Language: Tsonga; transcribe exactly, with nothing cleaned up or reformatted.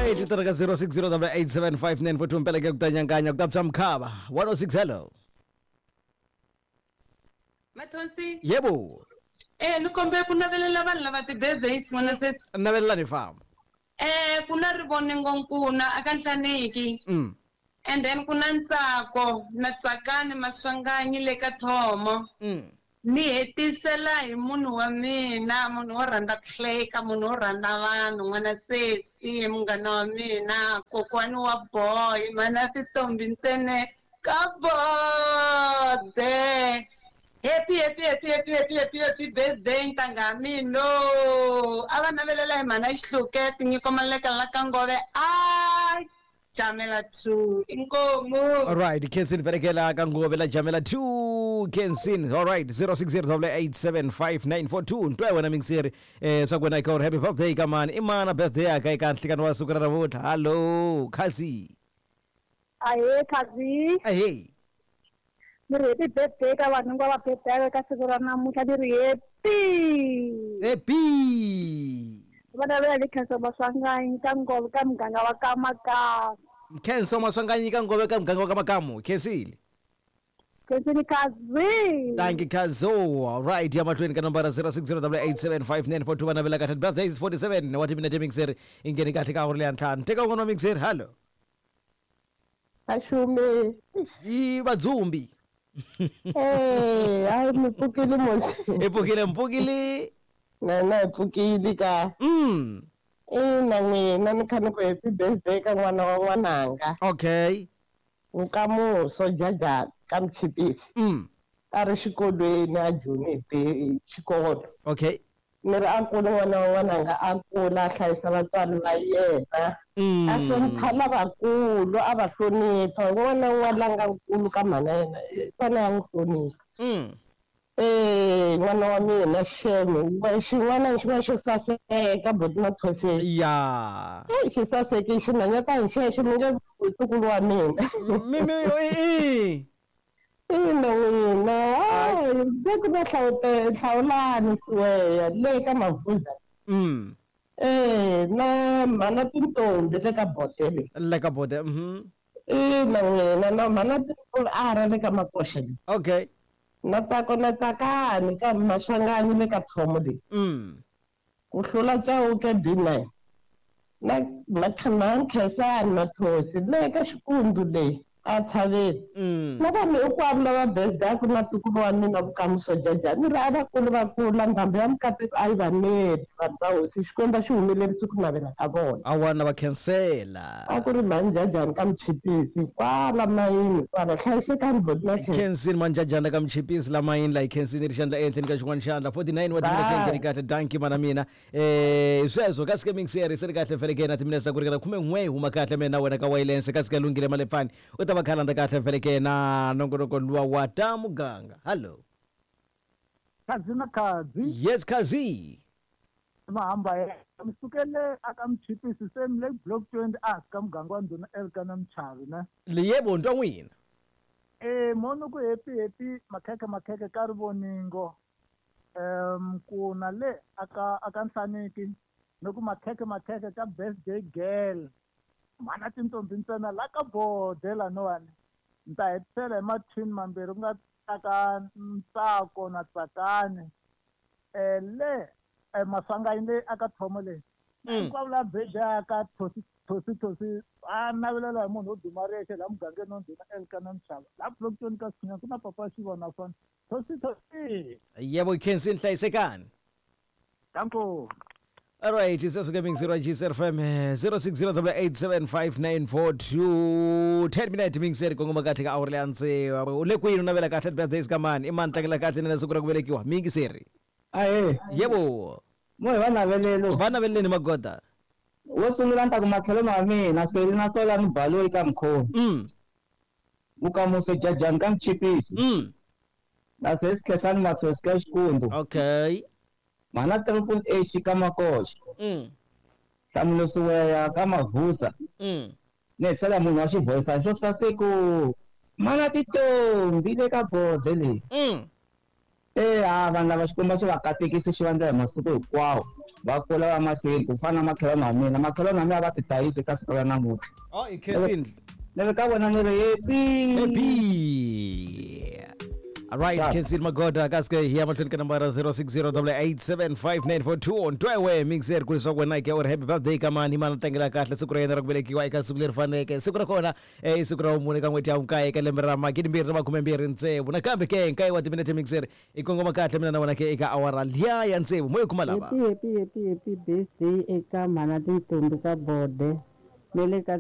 Alright, tireka zero six zero double eight seven five nine four two mpela ke kutanyanganya kutapsa mkhaba one oh six. Hello Mathonsi. Yebo. Eh nikombe ku navelela vanhu lava ti-birthdays n'wana sweswi. Navelela ni famba. Eh ku na Rivonengo Nkuna aka Nhlaneki. Mm. And then ku na Ntsako na Tsakani Maswanganyi le ka Thomo. Mm. Ni hetisela hi munhu wa mina, munhu wo rhandza ku hleka, munhu wo rhandza vanhu, n'wana sesi, munghana wa mina, kokwani wa boy, mana tintombi ntsena ka bode. Happy, happy, happy, happy, happy, happy, happy birthday ntanga mina. A va navelela hi mhana Xihluke, tinyiko maleka la ka Ngove. Ai Jamela two inkomo. All right, Kensin Perekela ka Ngove la Jamela two Kensin. All right, zero six zero double eight seven five nine four two. Ntwe wena mingiseri eh swa kwena ka happy birthday ka mani. Imana birthday ya ka eka nhlikano wa siku ra namuntlha. Hello, Khazi. Ahe Khazi. Ahe. Ni ri happy birthday ka vanhu hinkwavo va birthday ka siku ra namuntlha, ni ri happy. Happy. Va navela ni Khensa Maswanganyi ka Ngove ka muganga wa ka Makamu. Khensa Maswanganyi ka Ngove ka muganga wa ka Makamu. Khensile. Khensile Khazi. Thank you Khazo. All right, ya mahlweni ka nombara zero six zero double eight seven five nine four two va navela kahle birthday is forty-seven wa timinete mixer ingeni kahle ka awuri leya ntlhanu. Teka un'wana wa mixer. Hello. Ashume. I Vadzumbi. Eh, ai mi pfukile mosi. I pfukile mpfukile. Na na pfukile ka. Mm. Ina n'wina ni kha ni ku happy birthday ka n'wana wa n'wananga. Okay. Nkamuso Jaja ka Mchipisi. Mm. A ri xikolweni a joinete xikolo. Okay. Ni ri a kula n'wana wa n'wananga a kula a hlayisa vatswari va yena. Mm. A hlonipha lavakulu, a va hlonipha. N'wana na un'wana la nga nkulu ka mhana yena i fanele a n'wi hlonipha. Mm. Eh, n'wana wa mina xeme, xin'wana na xin'wana xo saseka buti Mathoseni. Ya. Eh, xi saseke xinhwanyetana hi xexo mi nge ntukulu wa mina. Mi mi i. Ina n'wina, hayi, ku na hlawute hlawulani siweya le ka Mavuza. Mm. Eh, na mhana tintombi le ka bote le. Le ka bote, mhm. Ina n'wina, na mhana tintombi a ra le ka Makoxa le. Okay. Na Tsako na Tsakani ka Maswanganyi le ka Thomo le. Mm. Ku hlula Chauke B nine. Na na Khensani Mathosi le ka Xikundu le a tshaveni. Mm. Na vanhu hinkwavo lava birthday ku na ntukulu wa mina Vukamuso Jaja. Ni ri a vakulu va kula ndhambi ya mikateko a yi va neli vanhu va hosi Xikwembu xi humelerisi ku navela ka vona. A wana va khensela. A ku ri mhani Jajani ka Mchipisi kwala mayini kwala hlayisekani buti na Khensa. Khensini mhani Jajani ka Mchipisi la mayini la hi khensini ri xandla ehenhleni ka xin'wana xandla forty-nine wa timinete ngheni kahle danki mana mina. Eh sweswo kasi ke mixer se ri kahle feleke na timinete ku ringana khume n'we huma kahle mina wena ka wireless kasi ka lunghile malepfani u ta va khalanda kahle feleke na nongonoko luwa wa ta muganga. Hello. Khazi na Khazi. Yes Khazi. Mahamba ya misukele aka Mchipisi same le block twenty a ka muganga wa ndhuna Elkana Mchavi na. Yebo ntwa n'wina. Eh mono ku happy happy makhekhe makhekhe ka Rivoningo. Em ku na le aka aka Nhlaneki no ku makhekhe makhekhe ka birthday girl. Mana tintombi ntsena la ka bode laniwani. Ni ta hetisela hi mathini mambirhi ku nga Tsaka Ntsako na Tsakani. Eh le Maswanganyi le aka Thomo le. Hinkwavo la birthday aka Thosi Thosi Thosi a navelela hi munhu wo duma rexe la mugangeni wa ndhuna Elkana Mchava. La block twenty ka Sinya ku na papa Xivona fana. Thosi Thosi. Yebo Khensini hlayisekani. Danko. All right, sweswo ke mixer wa G C F M zero six zero double eight seven five nine four two ten minute mixer kongoma kahle ka awuri leya ntsevu. U le kwini u navela kahle birthdays ka mani? I mani tlangela kahle na siku ra ku velekiwa? Mixer. Ahe. Yebo. Mo hi va navelelo. Va naveleni magoda. Wo sungula ni ta ku matlhelo ma mina Hleli na Sola ni Baloyi ka Mkhoni. Mm. Vukamuso Jajani ka Mchipisi. Mm. Na Sesi Khensani Mathosi ka Xikundu. Okay. Mana triple H ka Makoxa. Mm. Nhlamulo Siweya ka Mavusa. Mm. Ni hetisela munhu wa xivoyisana xo saseko. Mana tintombi le ka bode leyi. Mm. Eh, ha vanhu lava Xikwembu xi va katekisi xi va ndlela masiku hinkwawo. Va kula va mahlweni ku fana na makhelwani wa mina. Makhelwani wa mina va tihlayisi eka siku ra namuntlha. Oh, i khensile. Ni ri ka vona ni ri happy. Happy. All right, Sharp. Khensile Magoda kasi ke hi ya mahlweni ka nambara zero six zero double eight seven five nine four two on Ntwewe Mixer ku leswaku wena ke u ri happy birthday ka mani mani tlangela kahle siku ra yena ra ku velekiwa eka siku leri faneleke. Siku ra kona eh, i siku ra vumune ka n'hweti ya vunkaye eka lembe ra magidi mbirhi na makume mbirhi tsevu. Nakambe ke nkaye wa timinete Mixer i kongoma kahle mina na wena ke eka awara liya ya tsevu mo yi kuma lava. Happy happy happy happy birthday eka mhana tintombi ka bode ne le ka